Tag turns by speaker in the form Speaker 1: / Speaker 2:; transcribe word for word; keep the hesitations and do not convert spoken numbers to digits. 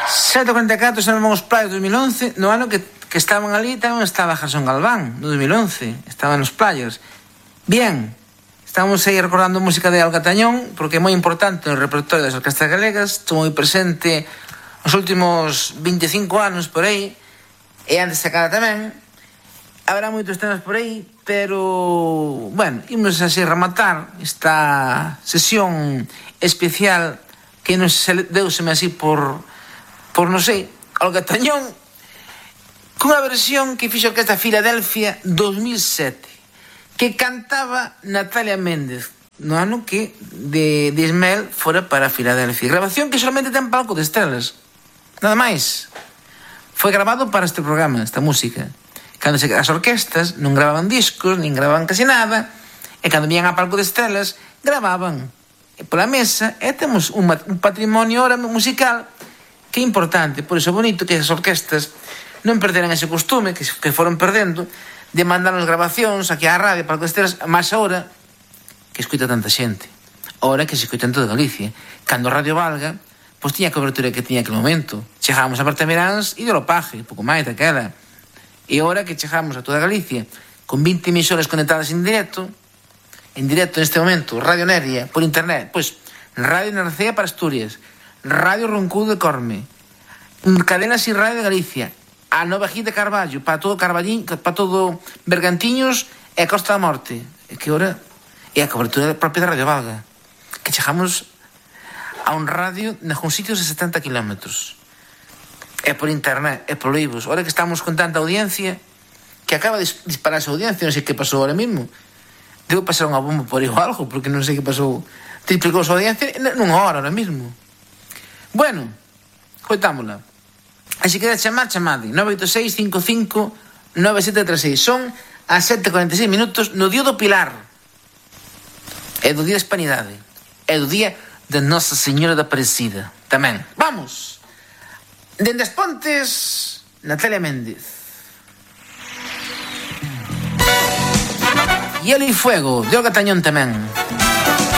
Speaker 1: sete cuarenta e catro son os playas do dos mil once, no ano que, que estaban ali tamén estaba Jason Galván, no dos mil once, estaban nos playas. Bien, estamos aí recordando música de Olga Tañón, porque é moi importante no repertorio das orquestas galegas, estou moi presente os últimos veinticinco anos por aí, e antes de cada tamén. Habrá moitos temas por aí, pero, bueno, imos así rematar esta sesión especial que nos deuseme así por, por non sei, Olga Tañón, cunha versión que fixo a Orquesta Filadelfia dos mil sete, que cantaba Natalia Méndez, no ano que de, de Ismael fora para Filadelfia. Grabación que solamente ten palco de estrelas, nada máis. Foi grabado para este programa, esta música. Cando se, as orquestas non gravaban discos, nin gravaban casi nada, e cando vían a palco de estrelas, gravaban e pola mesa, e temos un, un patrimonio ahora musical que é importante. Por iso é bonito que as orquestas non perderan ese costume que, que foron perdendo de mandarnos grabacións aquí á radio, palco de estrelas, máis ahora que escuta tanta xente, ahora que se escuta en toda Galicia. Cando Radio Valga, pois tiña a cobertura que tiña aquel momento, chegábamos a Bertamiráns e de Lopaje, pouco máis daquela. E agora que chegamos a toda Galicia con vinte emisoras conectadas en directo, en directo neste momento, Radio Neria, por internet, pois Radio Narcea para Asturias, Radio Roncudo de Corme, Cadenas y Radio de Galicia, a Nova Gita de Carballo, para todo Carballín, para todo Bergantiños e Costa da Morte. E que agora é a cobertura propia da Radio Valga, que chegamos a un radio nalgún sitios de setenta kilómetros. É por internet, é por libros. Ahora que estamos con tanta audiencia, que acaba de dispararse a audiencia, non sei que pasou ahora mismo. Debo pasar unha bomba por aí ou algo, porque non sei que pasou. Triplicou a audiencia nunha hora ahora mismo. Bueno, coitámola. Así que de chamar, chamade. nove oito seis, cinco cinco, nove sete tres seis. Son as sete e cuarenta e seis minutos no Día do Pilar. É do Día da Hispanidade. É do Día de Nosa Señora da Aparecida. Tamén. Vamos! Dende as Pontes, Natalia Méndez. Hielo y Fuego, de Olga Tañón tamén.